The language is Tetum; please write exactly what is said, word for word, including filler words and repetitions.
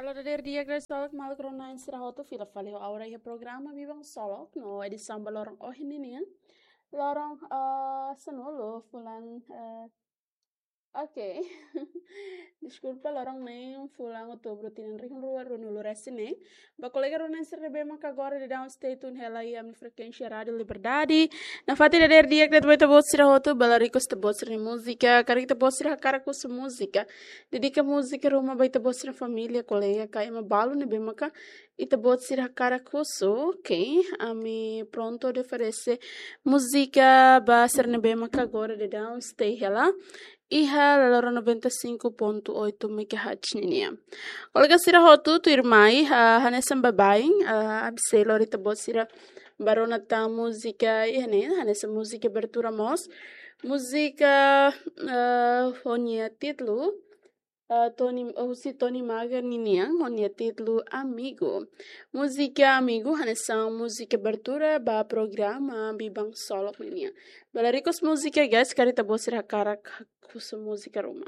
Halo, dadeer di'ak, dadeer solok, maluk rona-na'in sira hotu, fila fali ho ha'u iha programa Biban Solok no edisaun ba loron ohin ninian. Loron, eh, sanulu, fulan, eh, oke. Deskulpa, loron neen, fulan Outubru, tinan rihun rua ruanulu resin neen. Ba kolega rona-na'in sira ne'ebé maka agora daudaun stay tune hela iha ami-nia frekuénsia Rádiu Liberdade. Nafatin dadeer di'ak de'it ba ita-boot sira hotu, ba lariku ita-boot sira-nia múzika, karik ita-boot sira hakarak husu múzika, dedika múzika ruma ba ita-boot sira-nia família, kolega ka ema balu ne'ebé maka ita-boot sira hakarak husu, oke, ami prontu atu oferese múzika ba sira ne'ebé maka agora daudaun stay hela iha loroloron noventa e cinco ponto oito megahertz ninian. Kolega sira hotu, tuirmai, ah, hanesan baibain, ah, ami sei lori ita-boot sira ba rona tan múzika iha ne'e, hanesan múzika abertura mós. Múzika, ah, ho nia títulu, ah, Tony, husi Tony Maga ninian, ho nia títulu Amigo. Múzika Amigo hanesan múzika abertura ba programa Biban Solok ninian. Ba lariku múzika, guys, karik ita-boot sira hakarak husu múzika ruma.